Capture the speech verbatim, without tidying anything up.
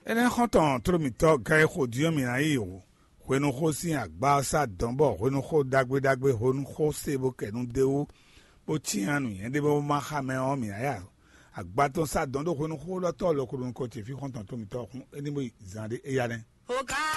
Énɛ́ xɔ́ntɔn tló mǐtɔn gán e xo din ɔ́, mǐ ná yi hwenu xó sín agbá ɔ́ sá dɔ̌n, bɔ hwenu xó ɖagbe ɖagbe hwenu xó se bó kɛ nu d'é wú, bó cyán nǔnywɛ́ ɖé bó má xa mɛ ɔ́, mǐ ná ya agbá tɔn sá dɔ̌n ɖó hwenu xó élɔ́ tɔn lɔ ko ɖo nukɔn ce fí xɔ́ntɔn tló mǐtɔn ɔ́, xún é ní bó yi zan ɖé éyá nɛ́.